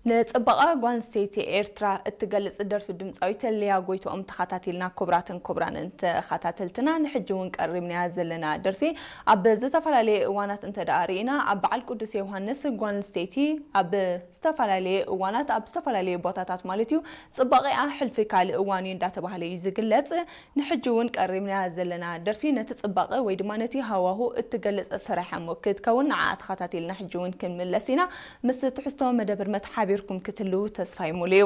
ንጽባቐ ጓል ኣንስተይቲ ኤርትራ እትገልጽ ደርፊ ድምጻዊት ሊያ ጎይትኦም ተኸታቲልና። ክቡራትን ክቡራንን ተኸታተልትና፣ ንሕጂ እውን ቀሪብናያ ዘለና ደርፊ ኣብ ዝተፈላለየ እዋናት እንተ ደኣ ርኢና፣ ኣብ በዓል ቅዱስ ዮሃንስ ጓል ኣንስተይቲ ኣብ ዝተፈላለየ እዋናት ኣብ ዝተፈላለየ ቦታታት ማለት እዩ ጽባቐኣ ሕልፊ ካልእ እዋን እዩ እንዳተባህለ እዩ ዝግለጽ። ንሕጂ እውን ቀሪብናያ ዘለና ደርፊ ነቲ ጽባቐ ወይ ድማ ነቲ ሃዋሁ እትገልጽ ስራሕ እሞ ክትከውን ንዓኣ ተኸታቲልና ሕጂ እውን ክንምለስ ኢና። ምስ ትሕዝቶ መደብ ህርመት ሓቢርኩም ክትህልዉ ተስፋይ ሙሉ እዩ።